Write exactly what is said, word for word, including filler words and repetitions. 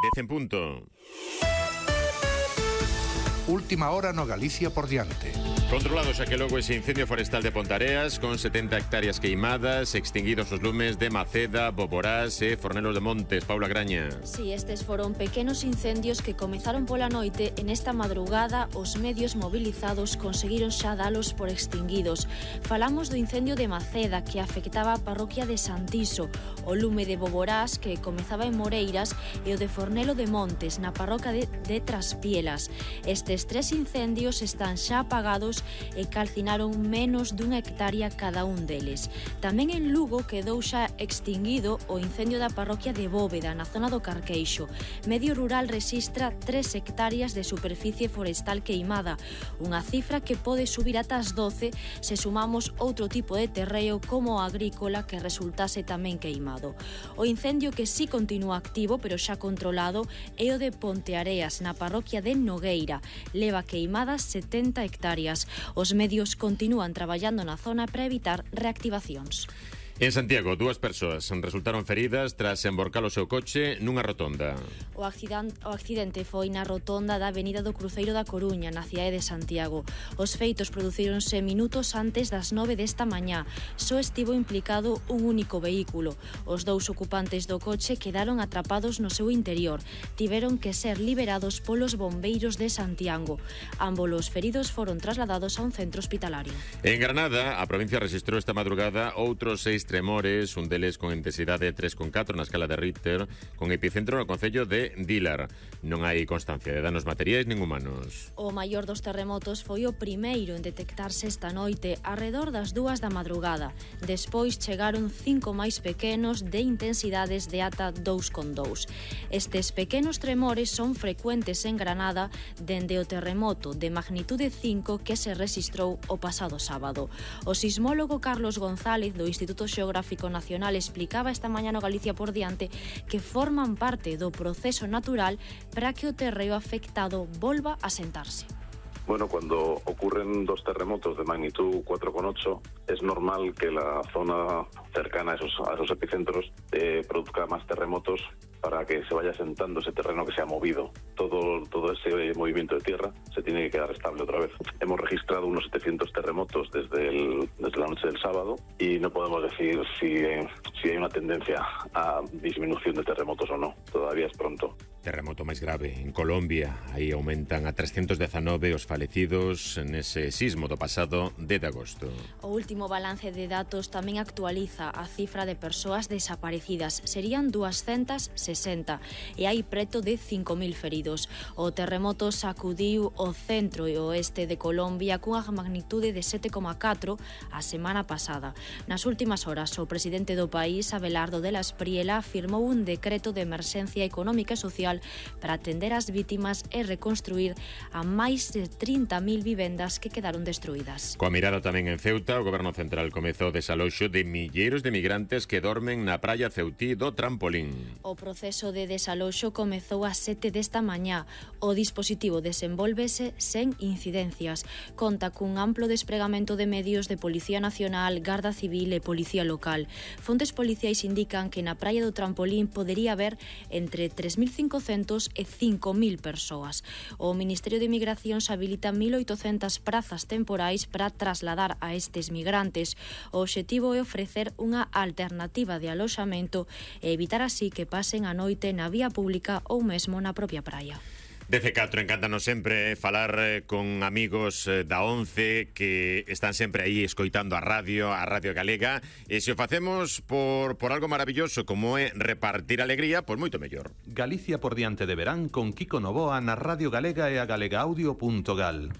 dez en punto. Última hora no Galicia por diante. Controlado xa que logo ese incendio forestal de Pontareas con setenta hectáreas queimadas, extinguidos os lumes de Maceda, Boborás e Fornelos de Montes. Paula Graña. Si, sí, estes foron pequenos incendios que comezaron pola noite. En esta madrugada os medios mobilizados conseguiron xa dalos por extinguidos. Falamos do incendio de Maceda que afectaba a parroquia de Santiso, o lume de Boborás que comezaba en Moreiras e o de Fornelo de Montes na parroquia de, de Traspielas. Estes tres incendios están xa apagados e calcinaron menos dunha hectárea cada un deles. Tamén en Lugo quedou xa extinguido o incendio da parroquia de Bóveda, na zona do Carqueixo. Medio Rural rexistra tres hectáreas de superficie forestal queimada, unha cifra que pode subir ata as doce se sumamos outro tipo de terreo como o agrícola que resultase tamén queimado. O incendio que sí continúa activo, pero xa controlado, é o de Ponteareas, na parroquia de Nogueira. Leva queimadas setenta hectáreas. Os medios continúan traballando na zona para evitar reactivacións. En Santiago, dúas persoas resultaron feridas tras emborcar o seu coche nunha rotonda. O accidente, o accidente foi na rotonda da Avenida do Cruceiro da Coruña, na cidade de Santiago. Os feitos producíronse minutos antes das nove desta mañá. Só estivo implicado un único vehículo. Os dous ocupantes do coche quedaron atrapados no seu interior. Tiveron que ser liberados polos bombeiros de Santiago. Ambos os feridos foron trasladados a un centro hospitalario. En Granada, a provincia rexistrou esta madrugada outros seis tremores, un deles con intensidade tres coma catro na escala de Richter, con epicentro no concello de Dílar. Non hai constancia de danos materiais nin humanos. O maior dos terremotos foi o primeiro en detectarse esta noite, arredor das dúas da madrugada. Despois chegaron cinco máis pequenos de intensidades de ata dous coma dous. Estes pequenos tremores son frecuentes en Granada dende o terremoto de magnitude cinco que se rexistrou o pasado sábado. O sismólogo Carlos González do Instituto Xeográfico Nacional explicaba esta mañá no Galicia por diante que forman parte do proceso natural para que o terreo afectado volva a sentarse. Bueno, cuando ocurren dos terremotos de magnitud cuatro coma ocho, es normal que la zona cercana a esos, a esos epicentros eh, produzca más terremotos para que se vaya sentando ese terreno que se ha movido. Todo, todo ese movimiento de tierra se tiene que quedar estable otra vez. Hemos registrado unos setecientos terremotos desde, el, desde la noche del sábado y no podemos decir si, eh, si hay una tendencia a disminución de terremotos o no. Todavía es pronto. Terremoto máis grave en Colombia. Aí aumentan a trescientos dezanove os falecidos nese sismo do pasado dez de agosto. O último balance de datos tamén actualiza a cifra de persoas desaparecidas. Serían doscientos sesenta e hai preto de cinco mil feridos. O terremoto sacudiu o centro e oeste de Colombia cunha magnitude de sete coma catro a semana pasada. Nas últimas horas, o presidente do país, Abelardo de la Espriella, firmou un decreto de emerxencia económica e social para atender as vítimas e reconstruir a máis de trinta mil vivendas que quedaron destruídas. Coa mirada tamén en Ceuta, o Goberno Central comezou o desaloxo de milleiros de migrantes que dormen na praia ceutí do Trampolín. O proceso de desaloxo comezou ás sete desta mañá. O dispositivo desenvolvese sen incidencias. Conta cun amplo despregamento de medios de Policía Nacional, Garda Civil e Policía Local. Fontes policiais indican que na praia do Trampolín podería haber entre tres mil cincocentos e cinco mil persoas. O Ministerio de Migracións habilita mil oitocentas prazas temporais para trasladar a estes migrantes. O obxectivo é ofrecer unha alternativa de aloxamento e evitar así que pasen a noite na vía pública ou mesmo na propia praia. dez e catro, encántanos sempre falar con amigos da once que están sempre aí escoitando a radio, a Radio Galega, e se o facemos por, por algo maravilloso como é repartir alegría, pois moito mellor. Galicia por diante de verán con Kiko Novoa na Radio Galega e a galegaaudio punto gal.